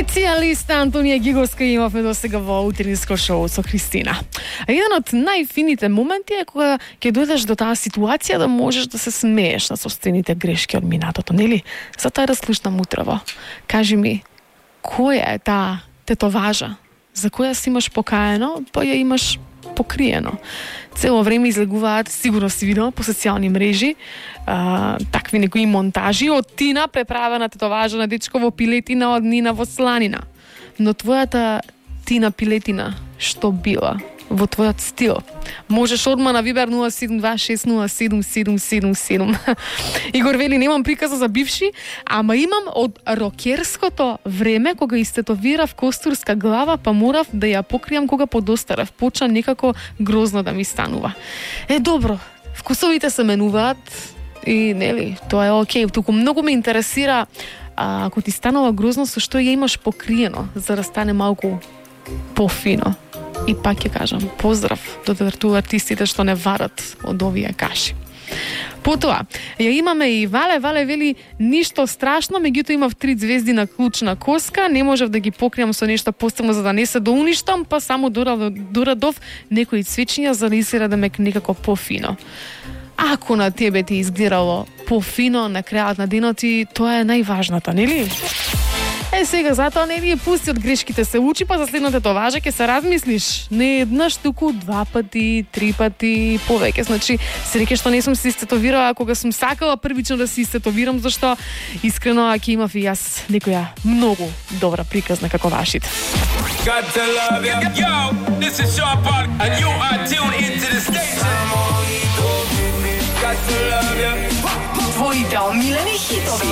Специјалист Антонија Гиговска имавме до сега во утринско шоу со Христина. А еден од најфините моменти е кога ќе дојдеш до таа ситуација да можеш да се смееш на собствените грешки од минатото, нели? Затоа разслушнам утрово. Кажи ми, која е таа тетоважа за која си имаш покаено, па ја имаш покриено? Цело време излегуваат, сигурно си видела по социјални мрежи, такви некои монтажи од Тина преправена тетоважа на дечко во пилетина од Нина во сланина. Но твојата Тина пилетина што била во твојот стил? Можеш одма на Вибер 072607777. Игор вели, немам приказа за бивши, ама имам од рокерското време кога истетовирав костурска глава, па морав да ја покријам кога подостарев. Почна некако грозно да ми станува. Добро, вкусовите се менуваат и нели, тоа е окей. Туку многу ме интересира ако ти станува грозно, со што ја имаш покриено, за да стане малку пофино. И пак ќе кажам, поздрав до артистите што не варат од овие каши. Потоа, ја имаме и Вале вели, ништо страшно, меѓутоа имав 3 звезди на клучна коска, не можев да ги покријам со нешто посебно за да не се доуништам, па само дорадов некои цвечиња за да изгледа да ме некако пофино. Ако на тебе ти изгледало пофино на крајот на денот, и тоа е најважната, нели? Сега затоа не ви пусти од грешките се учи, па за следната тетоважа ќе се размислиш. Не еднаш, туку 2 пати, 3 пати, повеќе. Значи, среќа што не сум се истетовирала кога сум сакала првично да се истетовирам, зашто искрено ќе имав и јас некоја многу добра приказна како вашите. Твоите омилени хитови.